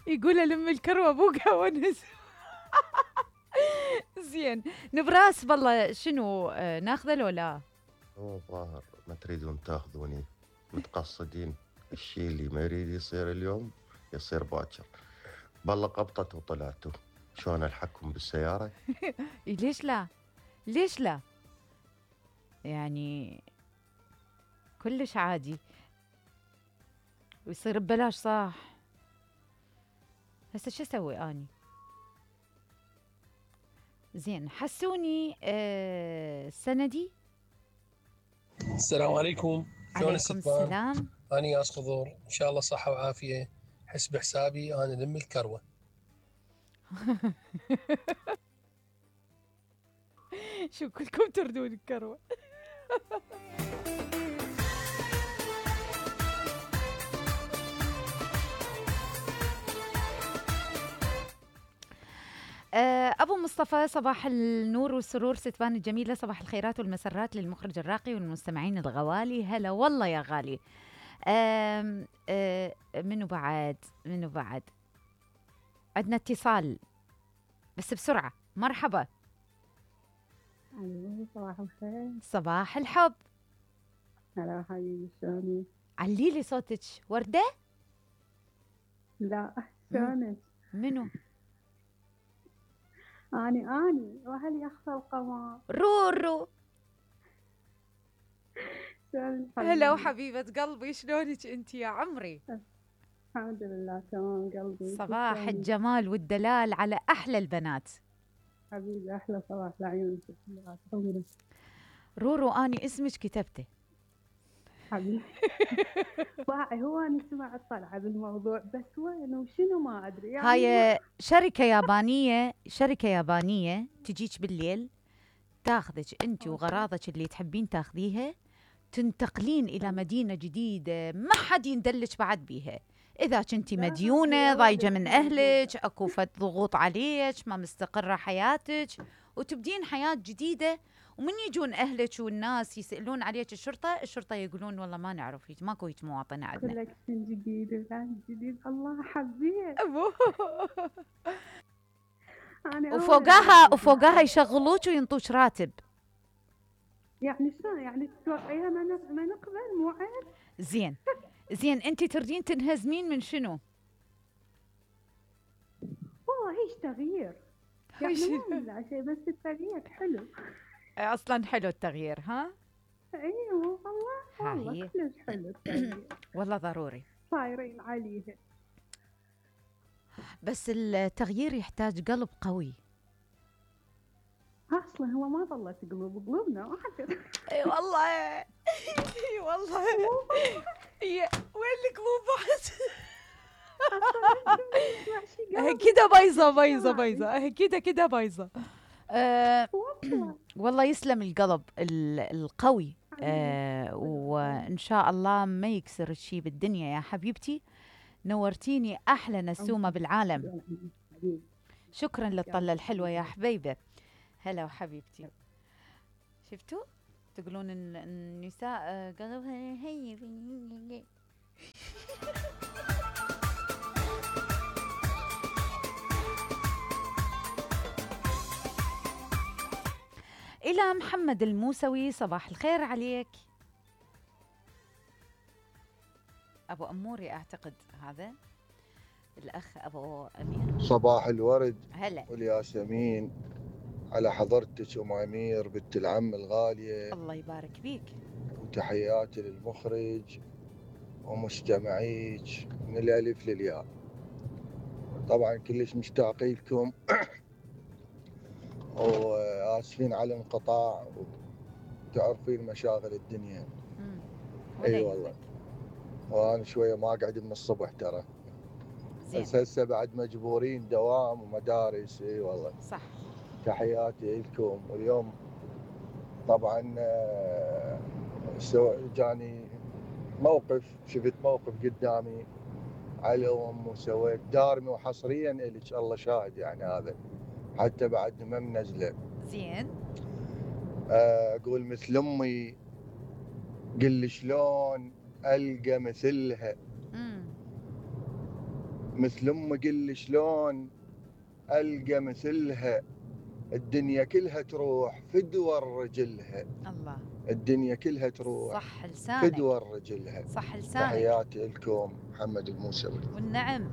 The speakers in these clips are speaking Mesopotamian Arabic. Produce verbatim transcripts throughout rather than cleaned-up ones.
يقول لم الكروة بوقها ونس. زين نبراس بالله شنو آه ناخذه لو لا؟ هو ظاهر ما تريدون تاخذوني، متقصدين الشيء اللي ما يريد يصير اليوم يصير باكر. بالله قبطت وطلعتوا، شلون الحقكم بالسيارة؟ ليش لا؟ ليش لا؟ يعني كلش عادي ويصير ببلاش صح. هسه شو اسوي اني؟ زين حسوني آه سندي. السلام عليكم، شلون عليكم الستمان؟ السلام. أنا ياس خضور، إن شاء الله صحة وعافية. حسب حسابي أنا لم الكروة. شو كلكم تردون الكروة. أبو مصطفى صباح النور والسرور ستبان الجميلة، صباح الخيرات والمسرات للمخرج الراقي والمستمعين الغوالي. هلا والله يا غالي. آم آم منو بعد منو بعد عندنا اتصال بس بسرعة. مرحبا. الو صباح الخير. صباح الحب. هلا حبيبي شلونك؟ عليلي صوتك. وردة؟ لا شلونك؟ منو؟ اني اني وهل يخفى القمر. رورو. شلونك هلا وحبيبة قلبي، شلونك انت يا عمري؟ الحمد لله تمام قلبي. صباح شلونك؟ الجمال والدلال على احلى البنات. حبيبي احلى صباح لعيونك كلها. رورو اني اسمك كتبته حبيبي. باعي هو أنا سمعت طلعة بالموضوع بس وين وشنو ما أدري يعني. هاي شركة يابانية، شركة يابانية تجيك بالليل تاخذك انت وغراضك اللي تحبين تاخذيها، تنتقلين الى مدينة جديدة ما حد يندلك بعد بيها. اذا كنتي مديونة ضايجة من اهلك، اكو فد ضغوط عليك، ما مستقرة حياتك، وتبدين حياة جديدة، ومن يجون اهلك والناس يسالون عليك الشرطه، الشرطه يقولون والله ما نعرف هيك، ماكو هيك مواطنه عندنا. كولكشن جديد وكان جديد. الله حبيت. وفوقها وفوقها يشغلوك وينطوك راتب. يعني شلون يعني تتوقعيها ما ما نقبل مو عيب؟ زين زين انت تردين تنهزمين من شنو؟ والله هيش تغيير يعني ما لا شيء بس التغيير حلو. اصلا حلو التغيير ها؟ ايوه والله والله كلش حلو التغيير. والله ضروري صايرين عليه، بس التغيير يحتاج قلب قوي. اصلا هو ما ظلت قلوب قلوبنا واحد. اي والله اي والله هي وين القلوب بعد؟ كده بايظه بايظه بايظه كده كده بايظه. أه والله يسلم القلب القوي. أه وان شاء الله ما يكسر الشي بالدنيا يا حبيبتي. نورتيني احلى نسومه بالعالم. شكرا للطله الحلوه يا حبيبه. هلا وحبيبتي. شفتوا تقولون ان النساء قلبها هي. إلى محمد الموسوي صباح الخير عليك. أبو أموري أعتقد هذا الأخ أبو أمير. صباح الورد هلا والياسمين على حضرتك أم أمير بنت العم الغالية. الله يبارك بيك. وتحياتي للمخرج ومستمعيك من الألف للياء. طبعا كلش مشتاقين لكم وآسفين على الانقطاع، وتعرفين مشاغل الدنيا. اي أيوة والله، وانا شويه ما اقعد من الصبح ترى، بس هسه بعد مجبورين دوام ومدارس. اي أيوة والله صح. تحياتي لكم. واليوم طبعا سو جاني موقف، شفت موقف قدامي على ام وسويت دارمي وحصريا الك، الله شاهد يعني هذا حتى بعد ما منزله. زين اقول مثل امي قل لي شلون القى مثلها. امم مثل أم قل لي شلون ألقى مثلها، الدنيا كلها تروح فدوى رجلها. الله. الدنيا كلها تروح صح لسانك، فدوى رجلها. صح لسانك. تحياتي لكم محمد الموسوي. والنعم.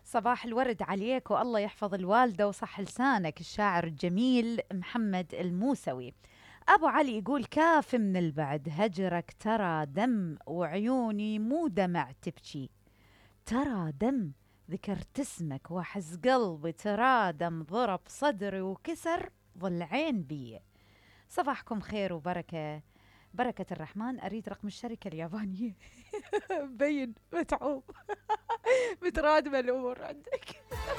صباح الورد عليك، والله يحفظ الوالدة وصح لسانك. الشاعر الجميل محمد الموسوي. أبو علي يقول كاف من البعد، هجرك ترى دم وعيوني مو دمع تبكي، ترى دم ذكرت اسمك وحز قلبي ترادم، ضرب صدري وكسر ضلعين بي. صباحكم خير وبركة، بركة الرحمن. أريد رقم الشركة اليابانية. مبين متعوب. مترادمة الأمور عندك.